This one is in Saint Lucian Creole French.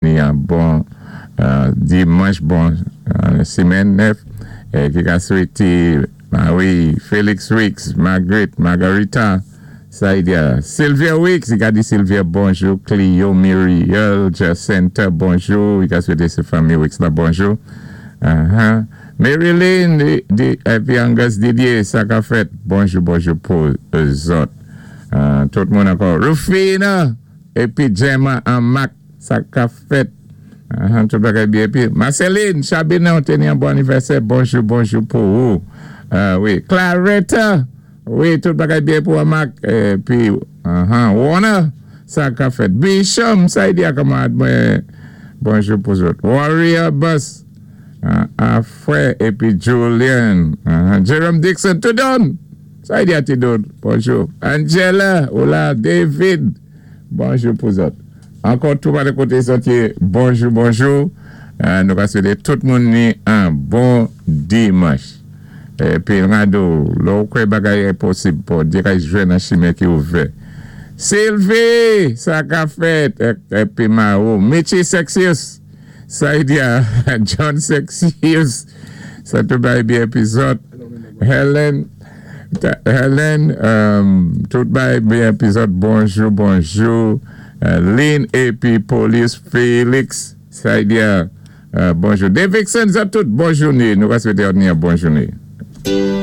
Ni an bon dimanch, bon simenn nèf, ki ka swété Marie, Félix Wicks, Margaret, Margarita, Saidia, Sylvia Wicks, i ka di Sylvia bonjou, Clio, Muriel, Jacinta, bonjou, i ka swété sé fanmi Wicks la bonjou. Marilyn, di, épi Angus Didier, sa ka fèt, bonjou, bonjou pou zòt. Tout moun ankò. Rufina, épi Gemma an Mac, sa ka fèt. Tout bagay byen. Épi Marceline, Chabine, té ni an bon anivèsè. Bonjou, bonjou pou ou. Wi. Claretta, wi, tout bagay byen pou Mac. Épi, Warner, sa ka fèt. Bishop, sa i di a kanmarad mwen. Bonjou pou zòt. Warrior Bus, Afrè, épi Julian. Jerome Dixon, Tudon. Sa i di a Tudon. Bonjou. Angela, hola, David. Bonjou pou zòt. Ankò tou pa de koté zòt yé, bonjou, bonjou. Nou ka swété tout moun ni an bon dimanch. Épi Rado, lè ou kwè bagay enposib, Bondyé ka jwenn an chimen ki ouvè. Sylvie, sa ka fèt. Épi Maro, Mitchy Sexius, sa i di a John Sexius, sa tout bagay byen épi zòt. Helen, Helen, tout bagay byen épi zòt, bonjou, bonjou. Lynn épi Police Félix, sa i di a bonjou. Davidson, zòt tout, bon jouné. Nou ka swété ni an bon jouné.